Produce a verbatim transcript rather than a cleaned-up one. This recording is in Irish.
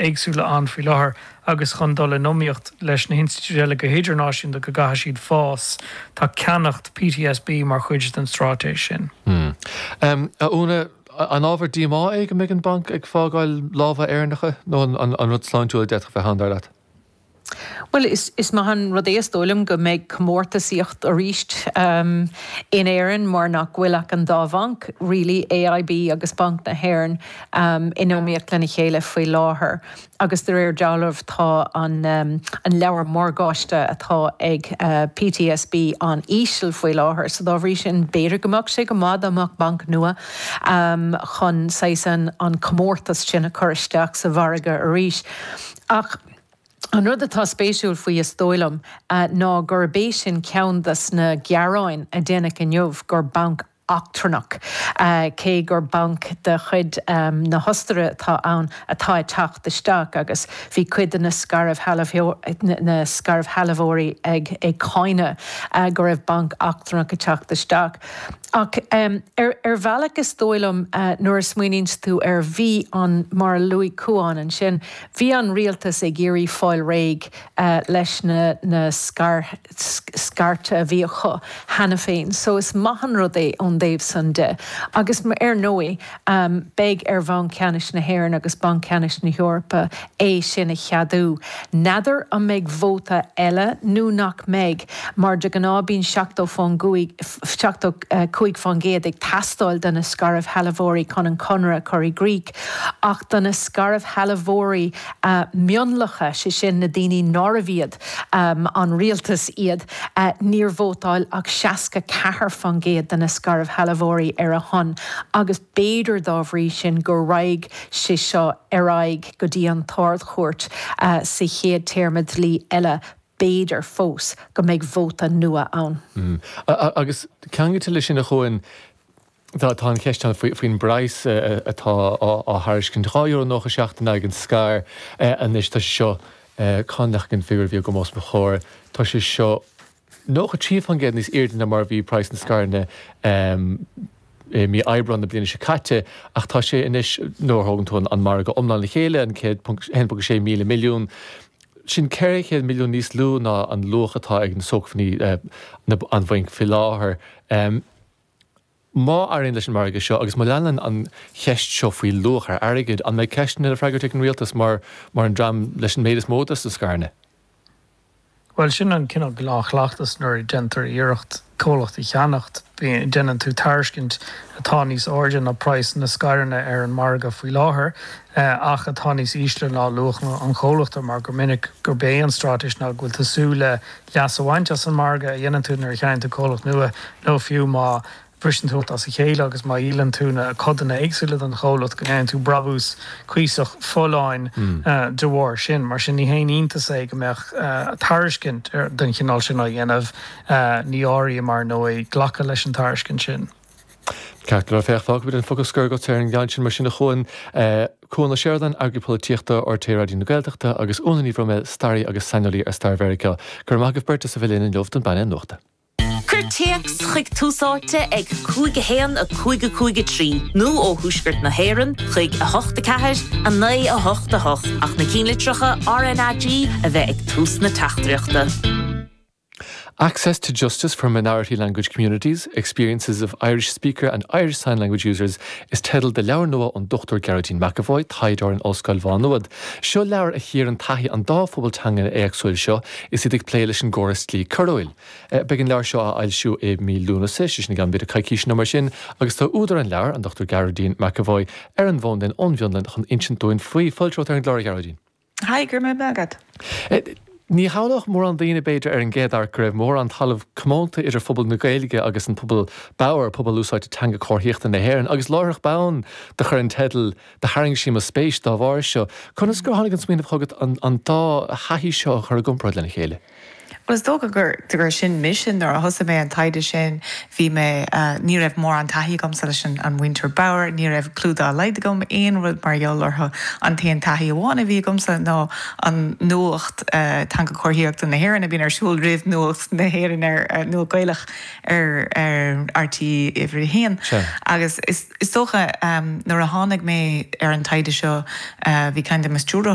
éagsúla ann faoi láthair agus chun dul in iomaíocht leis na hinstitiúidí eile go hidirnáisiúnta go gcaithfidh siad fás. Tá ceannacht P T S B mar chuid den straitéis sin. Hmm. Um, a Úna, an ábhar díomá é go mbeidh an banc ag fágáil lámha Éireannacha nó an, an, an rud sláintiúil a d'fhéadfadh bheith ann dar leat? Well is, is maith an rud é is dóigh liom go mbeidh comórtasaíocht arís um, in Éirinn mar nach bhfuil ach an dá bhanc really A I B agus Banc na hÉireann um, in iomaíocht lena chéile faoi láthair. Agus de réir dealraimh tá an, um, an leabhar morgáiste atá ag uh, P T S B an-íseal faoi láthair, so dá bhrí sin b'fhéidir go mbeadh sé go maith amach banc nua um, chun saghas an, an comórtas sin a chur isteach sa mhargadh arís. Ach an rud atá spéisiúil faoi is dóigh liom uh, ná gurb é sin ceann de na gearáin a déanadh inniu gur banc eachtrannach uh, cé gur banc de chuid um, na hOstaire atá ann atá ag teacht isteach agus bhí cuid de na na scairshealbhóirí ag ag cáineadh uh, go raibh banc eachtrannach ag teacht isteach. Ach um, ar, ar bhealach is dóigh liom uh, nuair a smaoiníonn tú ar bhí an mar a luaigh Cuán ansin, bhí an rialtas ag iarraidh fáil réidh uh, leis na, na scar, scairte a bhí acu cheana féin. So is maith an rud é ón dtaobh san de. Agus ar ndóigh um, beidh ar Bhanc Ceannais na hÉireann agus Banc Ceannais na hEorpa é sin a cheadú. N'fheadar an mbeidh vóta eile nó nach mbeidh, mar de ghnáth bíonn seachtó faoin seachtó cúig faoin gcéad ag teastáil do na scairshealbhóirí chun an conradh chur i gcrích, ach do na scairshealbhóirí uh, mionlacha sé sin na daoine nárbh iad um, an rialtas iad uh, níor vótáil ach seasca ceathair faoin gcéad de na scairshealbhóirí ar a shon, agus b'fhéidir dá bhrí sin go raghaidh sé seo ar aghaidh go dtí an tArd-Chúirt uh, sa chéad téarma dlí eile b'fhéidir fós go mbeidh vóta nua ann. Mm. Agus ceangailte leis sin a Chuáin Tá tá an cheist faoin bpraghas atá á thairiscint dhá euro nócha seacht in aghaidh an scair anois tá seo conach an fiú bhí go mós chóir Tá sé seo nócha trí faoin gcéad níos airde ná mar bhí praghas na scaireanna mí Aibreán na bliana seo caite ach tá sé anois nuair a thógann tú an margadh iomlán le chéile an céad sé míle milliún. Sin ceithre chéad milliún níos lú ná an luach atá ag na sócmhainní an bhainc faoi láthair. Um, má éiríonn leis an margadh seo agus má leanann an cheist seo faoi luach ar airgead an mbeidh ceisteanna le freagairt ag an rialtas mar mar an dream leis an méid is mó de na scaireanna. Well sin an cineál gnáthchleachtas nuair a déantar iarracht comhlacht a cheannacht déanann tú tairiscint atá níos airde ná praghas na scaireanna ar an margadh faoi láthair ach atá níos ísle ná luach an chomhlachta mar go minic gurb é an straitéis ná go bhfuil tú ag súil le leas a bhaint as an margadh a dhéanann tú nuair a cheannaíonn tú comhlacht nua nó fiú má bhriseann tú as a chéile agus má dhíolann tú na codanna éagsúla den chomhlacht go ndéanann tú brabús cuíosach folláin mm. uh, de bharr sin, mar sin ní haon iontas é go mbeadh uh, tairiscint den chineál sin á dhéanamh uh, ní áirí mar nó glacadh leis an tairiscint sin. Ceart le féach fágfaidh an focal scoir agat ar an gceann sin mar sin a Chuáin Cuan Ó Seireadáin eagraí polaitíochta R T É Raidió na Gaeltachta agus Úna Ní Bhroiméil staraí agus saineolaí ar stair Mheiriceá. Gur maith beirt a bhí linn inniu don bpainéal nuachta. Cuir téacs chuig Tús Áite ag cúig a haon a cúig a cúig a trí nó ó thuaisceart na hÉireann chuig a hocht a ceathair a naoi a hocht a hocht ach na ceannlitreacha R N A G a bheith ag tús na teachtaireachta. Access to Justice for Minority Language Communities, Experiences of Irish Speaker and Irish Sign Language Users is teideal do leabhar nua ón Dochtúir Gearóidín McEvoy, taighdeoir in Ollscoil Mhá Nuad. Seo leabhar a chíorann taithí an dá phobal teanga éagsúil seo is iad ag plé leis an gcóras dlí coiriúil. Beidh an leabhar seo á fhoilsiú i mí Lúnasa sé sin i gceann b'fhéidir coicís nó mar sin, agus tá údar an leabhair an Dochtúir Gearóidín McEvoy ar an bhfón linn ón bhFionlainn chun insint dúinn faoi fáilte romhat ar an gclár Gearóidín. Hi gur me agad. Ní shamhlódh mórán daoine b'fhéidir ar an gcéad amharc go raibh mórán talamh comónta idir phobal na Gaeilge agus an pobal bodhar pobal úsáidte teanga comharthaíochta na hÉireann, agus láithreach bonn do chuir an teideal do tharraing sé mo spéis dá bharr seo. Conas gur tháinig an smaoineamh chugat an, an dá thaithí seo a chur i gcomparáid lena chéile. Well is dócha gur gur sin mise nuair a thosaigh mé an taighde sin bhí mé uh, ní raibh mórán taithí agamsa leis an an mhuintir bodhar, ní raibh clue dá laghad agam aon rud mar gheall orthu an t-aon taithí amháin a bhí agamsa ná an nuacht uh, teanga chomharthaíochta na hÉireann a bhíonn ar siúl roimh nuacht na hÉireann ar uh, nuacht Gaelach ar ar R T É uimhir a haon. Agus is, is dócha um, nuair a tháinig mé ar an taighde seo uh, bhí ceann de mo stiúrthóirí